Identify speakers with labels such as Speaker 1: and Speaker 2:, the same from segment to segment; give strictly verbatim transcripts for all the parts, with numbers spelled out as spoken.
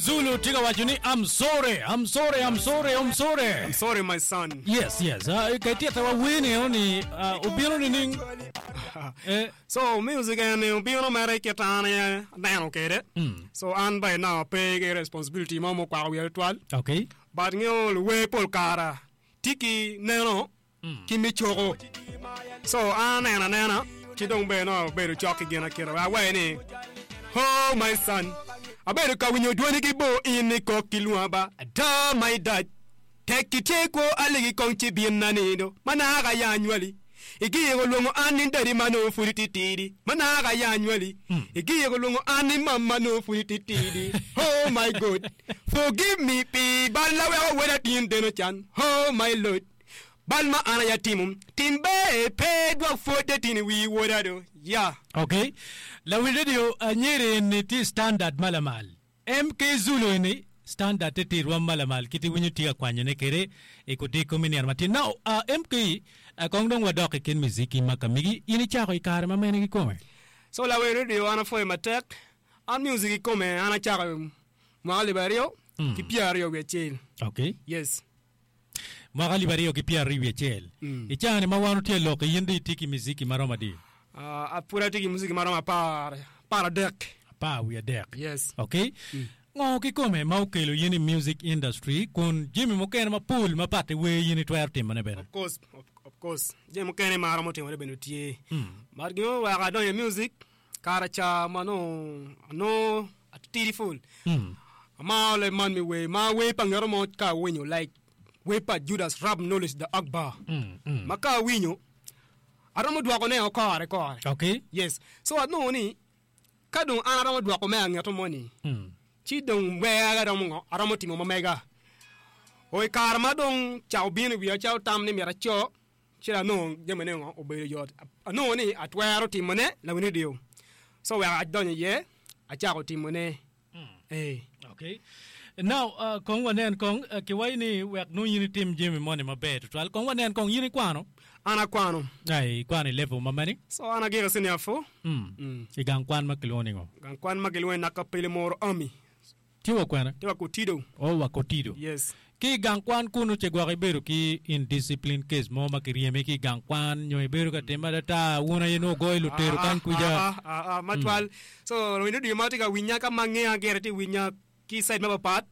Speaker 1: Zulu tye ka waco ni I'm sorry, I'm sorry, I'm sorry, I'm sorry.
Speaker 2: I'm sorry my son.
Speaker 1: Yes, yes. Uh, ka itita wa wer ni ni uh, obino nining? Eh,
Speaker 2: So music en obino mere kit an aye aneno kede. So an by now pe ki responsibility mo mukwako wiya tutwal.
Speaker 1: okay.
Speaker 2: But ngeo luwer pol kara tye ki neno ki me coko. So an aneno anena ci dong bene no abedo cok ki gin akita. Awaye ni Oh my son, abedo ka winyo dwoni ki bo in i kok ki lwonga ba ada my dad. Tek ki tye kwo aligi kong ci bin na nindo manaka ya anywali. Igiyiko lwongo an ni daddy ma nongo pud ititidi manaka ya anywali. Igiyiko lwongo an ni mama nongo pud ititidi. Oh my God, forgive me pi bal na weko weda tin deno can. Oh my Lord. Bal ma an aye atimo tim ber pe dwok pwod tin i wi woda do. Yeah.
Speaker 1: Okay. Lawi radio anyere ni tye standard malamal. MK Zulu ni standard te tye rwom malamal kiti winyo tye ka kwanyone kede i kudiko me nino matin. Now, uh, MK, uh, kong dong wadok i kin muziki ma kamigi, in icako i kare ma mene kikome?
Speaker 2: So lawi radio an apwoyo matek. An music ikome an acako mwaka alip aryo ki pyera aryo wiye acel.
Speaker 1: Okay.
Speaker 2: Yes.
Speaker 1: Mwaka alip aryo ki pyera aryo wiye acel. I caa ni ma wan otye lok in di itye ki muziki maromo adi?
Speaker 2: Uh, apud atye ki muziki maromo apar, apar adek.
Speaker 1: Apar wiye adek.
Speaker 2: Yes.
Speaker 1: Okay. Ngo kikome ma okelo in i music industry kun jami mukene mapol ma pat i wer in itwero timone bene?
Speaker 2: Of course, of, of course. Jami mukene ma aromo timone bene tye. But gin oweko adonyo i music, kara ca ma nongo anongo atitidi pul. Amaro leb man me wer, ma wer pa ngeto mo ka awinyo like wer pa Judas Rap Knowledge the Akbar. Ma ka awinyo, aromo dwoko ne o kore kore.
Speaker 1: Okay.
Speaker 2: Yes. So anongo ni ka dong an aromo dwoko me angeto moni, ci dong wer aromo ngo, aromo timo ma mega. O i kare ma dong ca obino i wiya calo tam ni myero aco, ci anongo jamine ngo obedo yot. Anongo ni atwero timone lawiny radio. So wek adonyo iye, acako timone. Eh.
Speaker 1: Okay. Now, uh, kong wanen kong uh, kiwaco ni wek nongo in itim jami moni maber tutwal. Kong wanen kong in ikwano?
Speaker 2: An akwano.
Speaker 1: Ai, ikwano i level ma mene?
Speaker 2: So an agiko senior four.
Speaker 1: Mm.
Speaker 2: Mm.
Speaker 1: I gang kwan ma kilwongo ni ngo?
Speaker 2: Gang kwan ma kilwongo ni Nakapele Moro Army.
Speaker 1: Tye wa kwene?
Speaker 2: Tye wa Kotido.
Speaker 1: Oh, wa Kotido.
Speaker 2: Yes.
Speaker 1: Ki i gang kwan kunu ce gwok ibedo ki indiscipline case mo ma kiryemi ki i gang kwan nyo ibedo ka time adata wun aye nongo goyo lutero kany kuca.
Speaker 2: Ah, ah, ah, matwal. So lawiny radio ma tye ka winya ka ma ngeya gire tye winya ki side mapapat.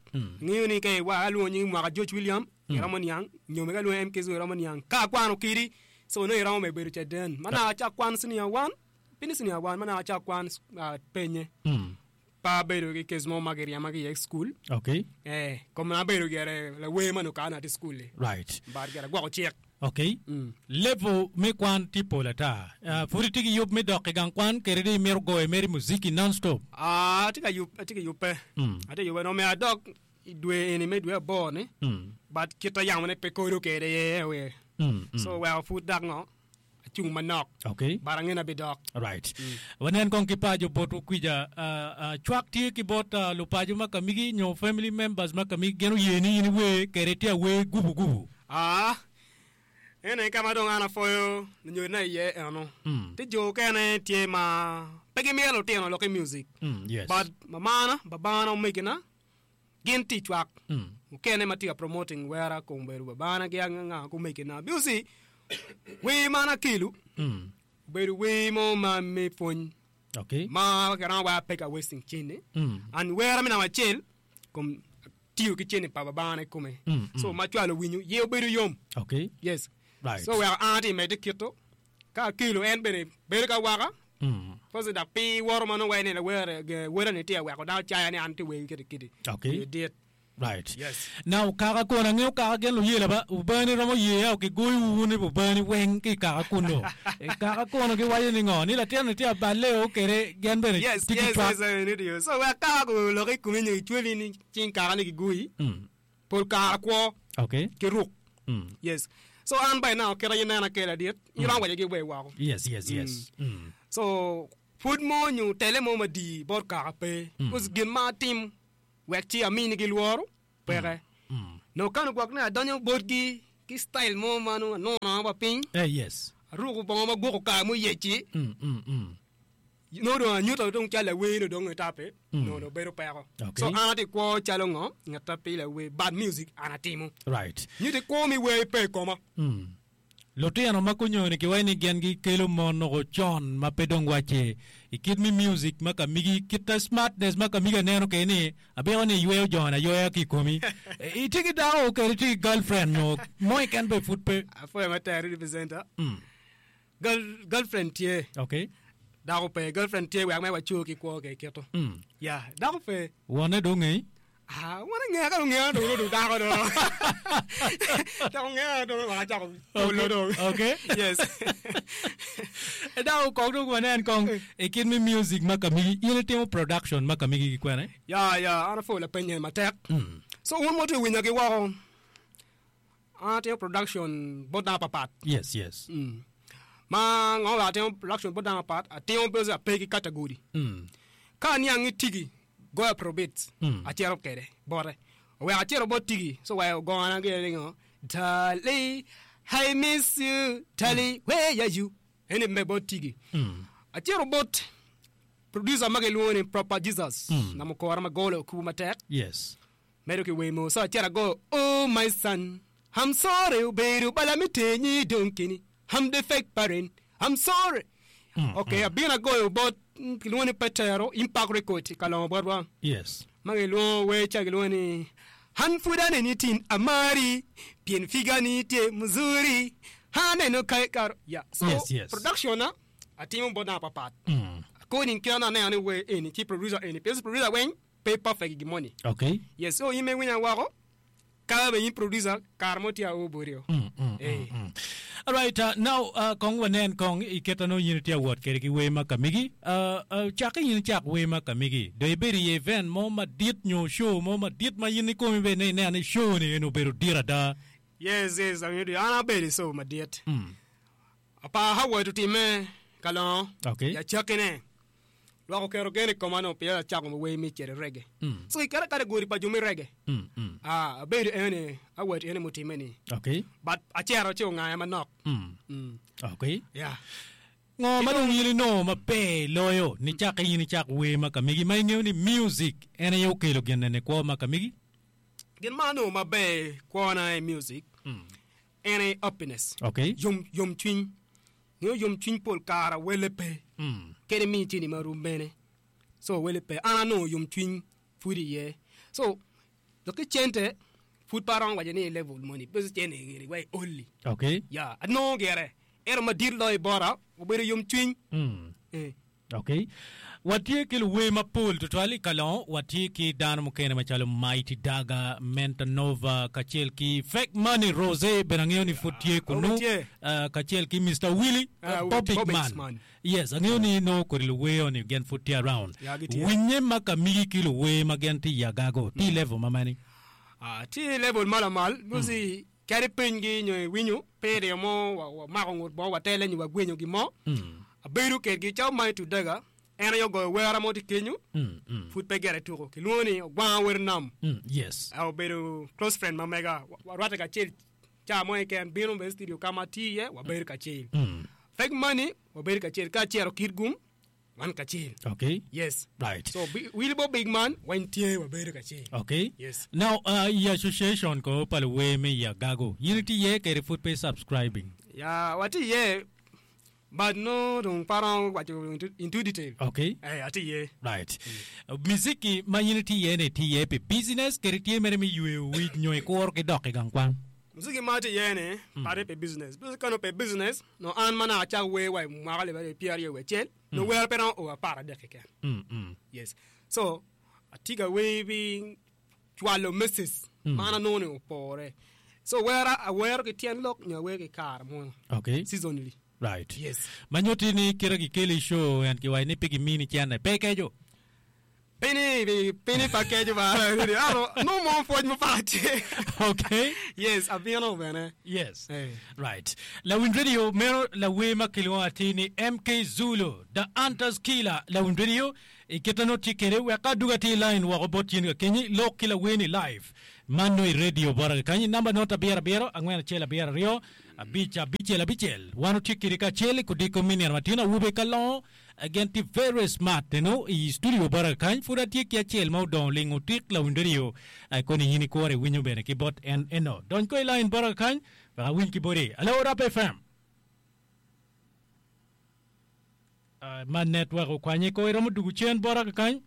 Speaker 2: Ngeyo ni ka iwa alwongo nying mwaka George William iromo niang nyo mega alwongo MK Zulu iromo niang. Ka akwano kidi so nongo iromo me bedo caden. Ma naka acak kwan senior one, piny senior one ma naka acak kwan uh, penye.
Speaker 1: Mm.
Speaker 2: Pa abedo ki case mo ma kiryema ki iye i school.
Speaker 1: Okay.
Speaker 2: Eh, kom na abedo gire lawer ma nongo kana atye i school-li.
Speaker 1: Right.
Speaker 2: But gire agwoko cik.
Speaker 1: Okay.
Speaker 2: Mm.
Speaker 1: Level me kwan tye pol ata. Uh, pud itye ki yub me dok i gang kwan kede di imito goyo mere muziki non-stop.
Speaker 2: Ah, atye ka yub, atye ka yubbe.
Speaker 1: Mm.
Speaker 2: Atye ka yubbe no myero adok i dwe eni me dwe aboro ni.
Speaker 1: Mm.
Speaker 2: But kita yamone pe kodo kede ye we.
Speaker 1: Mm. Mm.
Speaker 2: So weko pud dok ngo acung manok.
Speaker 1: Okay.
Speaker 2: But ange na bidok.
Speaker 1: Right. Wanen kong ki pajo botwu kwija. Uh, uh, cwak tye ki bot uh, lupajo ma kamigi nyo family members ma kamigi gin oye ni in iwer kede tye awer gubu gubu.
Speaker 2: Ah, ene ka ma dong an apwoyo lunyodina iye eno.
Speaker 1: Mm.
Speaker 2: Ti jo okene tye ma pe gimito lutino lok i music.
Speaker 1: Mm, yes.
Speaker 2: But mamana, babana, omegina gin tye i cwak.
Speaker 1: Mm.
Speaker 2: Mukene ma tye ka promoting wera kom obedo babana ki anga omegina. Music wer man akelo
Speaker 1: Mm.
Speaker 2: obedo wer mo ma me pwony
Speaker 1: Okay.
Speaker 2: ma kiromo waya pe ka wasting cene.
Speaker 1: Mm.
Speaker 2: And wera me namba acel kom tiyo ki cene pa babana i kome.
Speaker 1: Mm, mm.
Speaker 2: So ma cwalo winyo ye obedo yom.
Speaker 1: Okay.
Speaker 2: Yes.
Speaker 1: Right.
Speaker 2: So weko an atye medde kito ka akelo en bene bedo ka waka
Speaker 1: Mm.
Speaker 2: First dok pi woro ma nongo wai ni lawer wera ni tye weko dano caya ni an tye wer kiti kiti.
Speaker 1: Okay.
Speaker 2: Ye dit.
Speaker 1: Right.
Speaker 2: Yes.
Speaker 1: Now kaka kono angeyo kaka gin luyela ba ubani romo ye au kigoyo wun ni ubani weng ki kaka kuno. E, kaka kono giwaco ni ngo ni latin ni tye aballe o kede gin bene
Speaker 2: Yes,
Speaker 1: tye ki
Speaker 2: yes,
Speaker 1: cwak.
Speaker 2: yes, I need you. So wek kaka ko lok i komi nyo icweli ni cing kaka ni gigoyi.
Speaker 1: Mm.
Speaker 2: Pol kara kwo
Speaker 1: Okay.
Speaker 2: ki ruk.
Speaker 1: Mm.
Speaker 2: Yes. So an by now kita inena kela dit. Iromo waco gi we woko.
Speaker 1: Yes, yes, yes. Mm.
Speaker 2: So pud mo nyo tele mo madi bot kaka pe.
Speaker 1: Mm.
Speaker 2: Because gin ma atim wek ci amini gi lworo peke.
Speaker 1: Mm.
Speaker 2: No kano gwok ne adonyo botgi ki style mo ma nongo anongo wa piny.
Speaker 1: Eh, yes.
Speaker 2: Aruko bongo ma gwoko kare mo yeci.
Speaker 1: Mm, mm, mm.
Speaker 2: No dong anyuto dong calo lawer no dong etape no dong bedo peko.
Speaker 1: Okay.
Speaker 2: So an atye kwo calo ngo ngat a pe lawer bad music an atimo.
Speaker 1: Right.
Speaker 2: Nyuto kwo mi wer pe i koma.
Speaker 1: Lutino ma konyoni kiwaco ni gin gikelo mon noko con ma pe dong wacce i kit mi music ma ka migi kit ta smartness ma ka migi aneno kede ni abiko ni iyweyo joni aywaya ki i komi. Itye ki dako kede itye ki girlfriend nyo mo keken be pud pe.
Speaker 2: Apwoyo matek representer. Girl, girlfriend tye.
Speaker 1: Okay.
Speaker 2: Dako pe. Girlfriend tye wek me waco ki kwo ke kito. Yeah, dako pe.
Speaker 1: Wonne dong ngei?
Speaker 2: Ah, wonne ngea ka dong ngea dong dong dako dong. Dako ngea dong wek acako polo dong.
Speaker 1: Okay.
Speaker 2: Yes.
Speaker 1: Dako kong dong wanen kong i kit mi music ma ka migi in itimo production ma ka migi ki kwene?
Speaker 2: Ya, ya, an apwoyo lapenye matek. So un ma wutye winya ki woko, an atimo production bot dano papat.
Speaker 1: Yes, yes.
Speaker 2: Mm. Ma ngo wek atimo production bot dano papat, atimo because ape ki category.
Speaker 1: Mm.
Speaker 2: Ka aniang ni tigi goyo afrobeats,
Speaker 1: Mm.
Speaker 2: acito kede bote. Oweko acito bot tigi, so wek ogona gire ni ngo, Darling, I miss you, darling, where are you? Eni me bot tigi.
Speaker 1: Mm.
Speaker 2: Acito bot producer ma gilwongo ni Proper Jesus,
Speaker 1: Mm.
Speaker 2: na mukora ma golo okubo matek.
Speaker 1: Yes.
Speaker 2: Medo ki wemo, so acito agoyo, Oh my son, I'm sorry, obedo bala mi tenyi dong keni. I'm the fake parent, I'm sorry. Okay, abino agoyo bot mm, kilwongo ni Petero, Impact Record i Kalongo botwa.
Speaker 1: Yes.
Speaker 2: Ma gilwongo wer ca gilwongo ni An pud aneni tin amari pien figa ni tye muzuri aneno ka ikaro ya so
Speaker 1: Yes, yes.
Speaker 2: production na atimo bot dano papat
Speaker 1: Mm.
Speaker 2: according kit ma aneno ni wer eni ci producer eni pien producer weng pe perfect i gin moni
Speaker 1: Okay.
Speaker 2: yes so in ma iwinya woko ka bene in producer kare mo tye ao boti o
Speaker 1: Mm, mm,
Speaker 2: Eh.
Speaker 1: mm, mm. All right, uh, now uh, kong wanen kong i kit ano in itye awot kede ki wer ma ka migi. Uh, uh, cakke in icak wer ma ka migi. Do ibedo i event mo madit nyo show mo madit ma in ikomi bene ni ineno ni show ni en obedo dit ada.
Speaker 2: yes yes awinjo an abedo i show madit
Speaker 1: Mm.
Speaker 2: apa Howard otime Kalongo
Speaker 1: Okay.
Speaker 2: i acakkine lwak oketo gen i koma no pien acako wer mi cito i reggae
Speaker 1: Mm.
Speaker 2: so i kare category pa jo mi reggae
Speaker 1: Mm, mm.
Speaker 2: ah abedo eni Howard eni mutime ni
Speaker 1: Okay.
Speaker 2: but acero ci ongaya manok
Speaker 1: Mm.
Speaker 2: mm.
Speaker 1: Okay.
Speaker 2: yeah
Speaker 1: Ngo ma dong in inongo maber loyo ni cakke in icak wer ma ka migi ma ingeyo ni music en aye okelo gin ene kwo ma ka migi?
Speaker 2: gin ma anongo maber kwona i music
Speaker 1: Mm.
Speaker 2: en aye happiness
Speaker 1: Okay.
Speaker 2: yom yom cwiny ngeyo yom cwiny pol kara wele pe
Speaker 1: Mm.
Speaker 2: kede mi cini ma rum bene so wele pe an anongo yom cwiny pud iye so dok ki cente pud pe aromo waco ni i level moni because cente giri wa i oli
Speaker 1: Okay.
Speaker 2: ya anongo gire ento madit loyo i bota obedo yom cwiny
Speaker 1: Mm.
Speaker 2: eh.
Speaker 1: Okay. Watye ki luwer mapol tutwal i Kalongo, watye ki dano mukene macalo Mighty Daga, Menta Nova, kacel ki Fake Money Rose, bene angeyo ni pud tye kunu,
Speaker 2: Obe tye.
Speaker 1: uh, kacel ki Mister Willy,
Speaker 2: Ah,
Speaker 1: uh, Bobby
Speaker 2: Bobby
Speaker 1: Man.
Speaker 2: Man.
Speaker 1: Yes, angeyo ni no kodi luwer ni gen pud tye around.
Speaker 2: Ya, gitye.
Speaker 1: Winye ma ka migi ki luwer ma gen tye i Agago, tye i level ma mani?
Speaker 2: Ah, tye i level ma lamal because kadi pinygi nyo iwinyo pe iryo mo wa- wamako ngut bo watele nyo wagwenyo gin mo
Speaker 1: Mm.
Speaker 2: abedo kedgi calo Mighty Daga en aye ogoyo wera mo tye kenyo
Speaker 1: Mm, mm.
Speaker 2: pud pe gere tuko kilwongo ni ogwanga wer nam
Speaker 1: Mm, yes.
Speaker 2: Ah, obedo close friend ma mega Wa- warwatte kacel ca mo keken bino bene studio ka ma atye iye wabedo kacel
Speaker 1: Mm.
Speaker 2: Fake Money wabedo kacel ka acero kit gum wan kacel
Speaker 1: Okay.
Speaker 2: yes
Speaker 1: Right.
Speaker 2: so Bi- Wilbo Big Man wan tye wabedo kacel
Speaker 1: Okay.
Speaker 2: yes
Speaker 1: Now, uh, i association ko pa luwer me i Agago, in itye iye kede pud pe subscribing?
Speaker 2: ya watye iye but no dong pe aromo waco into, into detail
Speaker 1: Okay.
Speaker 2: eh atye iye
Speaker 1: Right. Uh, muziki ma in itye iye ni tye iye pi business kede tye mere me yweyo wic nyo ikuro ki dok i gang kwan?
Speaker 2: Muziki ma atye iye ni pate pi business because ka no pe business no an ma naka acak wer wa i mwaka alip aryo pyera aryo wiye acel no wer pe romo o apar adek keken
Speaker 1: Mm, mm.
Speaker 2: yes so atye ka wer pi cwalo message ma an anongo ni opore so wera awero ki tyen lok nyo awer ki kare mo
Speaker 1: Okay.
Speaker 2: seasonally
Speaker 1: Right.
Speaker 2: yes
Speaker 1: Ma nyutti ni kite gikelo i show en kiwaco ni pe gimini cene pe keco.
Speaker 2: Pini, pini pa keco ba. Ano, no mo pwony mo pa tye.
Speaker 1: Okay.
Speaker 2: Yes, abino bene.
Speaker 1: Yes.
Speaker 2: Eh.
Speaker 1: Right. Lawin Radio meno lawer ma kilwongo atir ni M K Zulu, the Hunters Killer. Lawin Radio i kite no tye kede wek aduga tye i line woko bot yin ka kenyi lok ki lawer ni live. Man no i radio bota ka kanyi namba not abiro abiro angwen acel abiro aryo Abic abicel abicel. Wan otye kede kacel i kodiko me nino matin awobe ka longo. Again ti very smart you know, i studio bota kany pud atye ki acel ma odongo lingo tik lawiny radio koni in ikore winyo bene ki bot en eno. Dony ko i line bota kany wek awiny ki boti. Hello Rap F M. Uh, ma network okwanye ko iromo dugu cen bota kany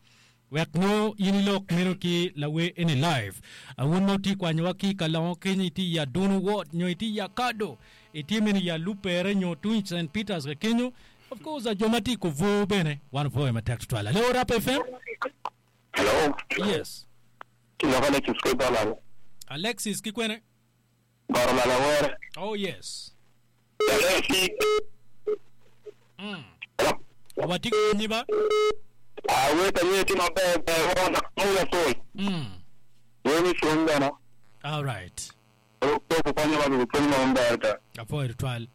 Speaker 1: wek no in ilok meno ki lawe eni live. Awun ma oti kwanyowa ki kalongo kenyo iti ya Dunu Ward nyo iti ya Kado iti meno ya Lupere nyo tung Saint Peters ka kenyo. Of course, jo ma tye kovo bene wan opwoyo matek tutwal. Hello Rap F M.
Speaker 3: Hello.
Speaker 1: Yes.
Speaker 3: Kiloko Alexis ki Dollar.
Speaker 1: Alexis ki kwene?
Speaker 3: Goro Malawere.
Speaker 1: Oh yes.
Speaker 3: Alexis.
Speaker 1: Mm. Watye ki winyi ba?
Speaker 3: Ah, weta nyeti maber ber wona mula sol.
Speaker 1: Mm.
Speaker 3: Weni sun bena.
Speaker 1: All right.
Speaker 3: Ko konyo ba ko konyo maber ta.
Speaker 1: Apwoyo tutwal.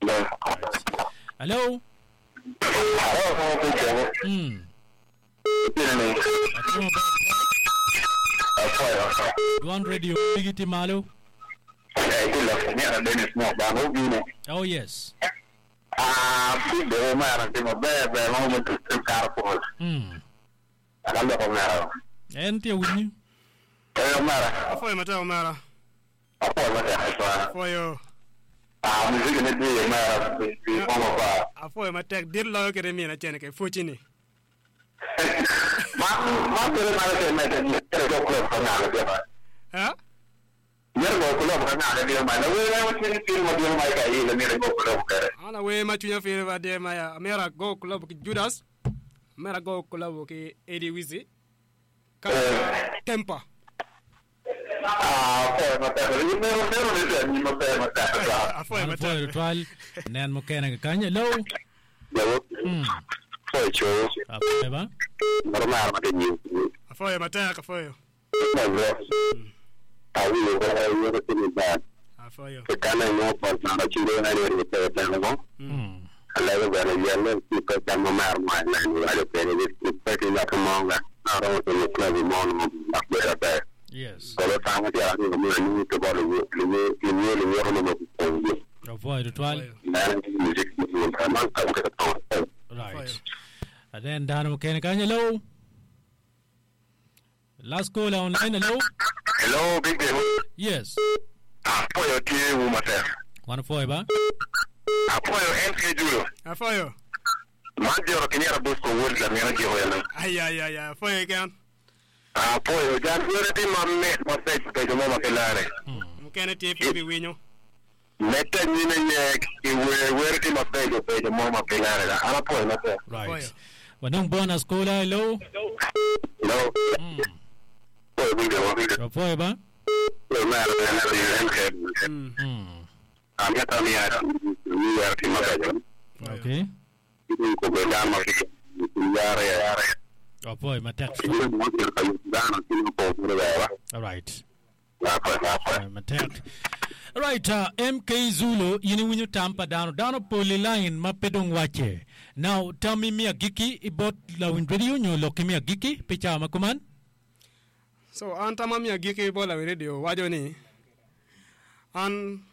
Speaker 3: Ber.
Speaker 1: Hello.
Speaker 3: Hello.
Speaker 1: Mm. Dwan radio bigiti malo. Oh yes.
Speaker 3: Ah, big mara timo ber ber ma mo tu kar pol.
Speaker 1: Mm.
Speaker 3: Ala ko mara.
Speaker 1: En tie winyi.
Speaker 3: Eh mara.
Speaker 2: Afoyo matek mara.
Speaker 3: Afoyo matek.
Speaker 2: Afoyo.
Speaker 3: Ah, music ne di mara di mo pa.
Speaker 2: Afoyo matek dir loyo kede mina chene ke fuchini.
Speaker 3: Ma ma tere mara te mete ni tere go club ka ngale dia ba.
Speaker 2: Ha?
Speaker 3: Yer go club ka ngale dia ma. Na we na chini chini ma dia ma ka yi le mere go club kare.
Speaker 2: Ana we ma chunya fere ba dia ma ya. Amera go club ki Judas. Amera go club ki Eddie Wizi. Ka Tempa.
Speaker 3: Ah, afoyo matek. Ni mero mero ni te ni ma per matek ta.
Speaker 2: Afoyo
Speaker 1: Apwoyo
Speaker 2: matek.
Speaker 1: tutwal. Nen mukene kany. Hello.
Speaker 3: Yawo.
Speaker 1: Mm.
Speaker 3: Afoyo cho.
Speaker 1: Apwoyo ba?
Speaker 3: Maro mara ma ke ni.
Speaker 2: Afoyo matek afoyo.
Speaker 3: Ma go. Awi yo ko yo ko ni ba.
Speaker 2: Afoyo.
Speaker 3: Ke kana no pa na chiro na ni ni te te no.
Speaker 1: Mm.
Speaker 3: Alego bene yelle ki ko chamo mar ma na ni ale pene ni ki pe ki la ko monga. Na ro to ni club mo no ba ba ba.
Speaker 1: Yes.
Speaker 3: Ko lo tamo ti ara ni mo ni to ba lo ni ni ni ni ro no ko ni.
Speaker 1: Apwoyo tutwal.
Speaker 3: Na ni music ni ma man ka ko to.
Speaker 1: Right. And then dano mukene kany. Hello. Last call online. Hello.
Speaker 3: Hello big day.
Speaker 1: Yes.
Speaker 3: Afoyo ti wu matek.
Speaker 1: Wan apwoyo ba?
Speaker 3: Afoyo M K Julo.
Speaker 2: Afoyo.
Speaker 3: Man joro kinyera Bosco wod la mera jiro yana.
Speaker 2: Ay ay ay afoyo kan.
Speaker 3: Afoyo jan wore ti mamme ma pech pe jo mama kelare.
Speaker 2: Mukene tie fi winyo.
Speaker 3: Mete nyine nyek iwe were ti ma pejo pejo mama kelare. Ala poyo na pe.
Speaker 1: Right. Wanong bonus caller. Hello.
Speaker 3: Hello.
Speaker 1: Mm.
Speaker 3: Poyo big day.
Speaker 1: Apwoyo ba?
Speaker 3: Poyo mera na M K.
Speaker 2: Mm.
Speaker 1: Mm.
Speaker 3: Ameta mi ara mi ara ti ma pejo.
Speaker 1: Okay.
Speaker 3: Ko be dama ki yare yare.
Speaker 1: Apwoyo matek.
Speaker 3: Ki mo ki ka dana ki ko ko ba.
Speaker 1: All right.
Speaker 3: La pa la pa.
Speaker 1: Uh, matek. Right, uh, M K Zulu, yini winyo tampa dano, dano poli line ma pedong wache. Now, tell me mi agiki ibot lawin radio nyo loki mi agiki picha makuman?
Speaker 2: So, an tama mi agiki ibot lawin radio wajo ni an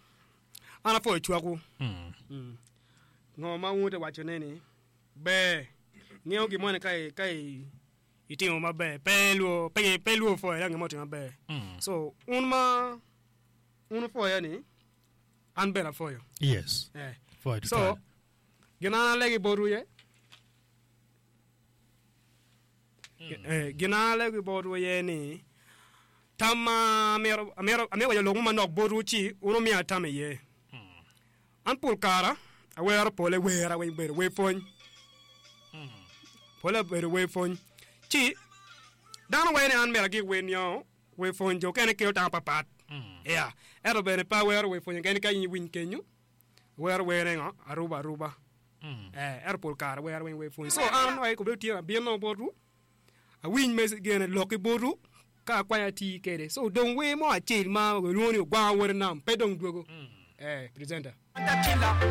Speaker 2: an afoyo chwaku.
Speaker 1: Mm.
Speaker 2: Mm. Ngo ma ute wacho neni be ng'eyo gimone kai kai itimo maber pe luo pe pe luo foyo ya ng'emo timo maber.
Speaker 1: Mm.
Speaker 2: So, un ma un foyo ni an bena foyo.
Speaker 1: Yes.
Speaker 2: Eh.
Speaker 1: Foyo to
Speaker 2: So, gina legi boru ye. Eh, gina legi boru ye ni tama mero mero amero yo longu manok boru chi uno mi atame ye. An pul kara awero pole wera we beru we fony. Pole beru we fony. Chi dano we ni an mera gi we nyo we fony jo kene keo ta papat. Yeah. Ero bene pa wero we fony kene ka yin win kenyu. Wero were ngo aruba aruba.
Speaker 1: Mm.
Speaker 2: Eh, ero pul kara wero we fony. So an we ko be tie bien no boru. A win mes gene loki boru ka kwanya ti kede. So don we mo achil ma we luoni gwa wor nam pe dong duogo. Eh, presenter.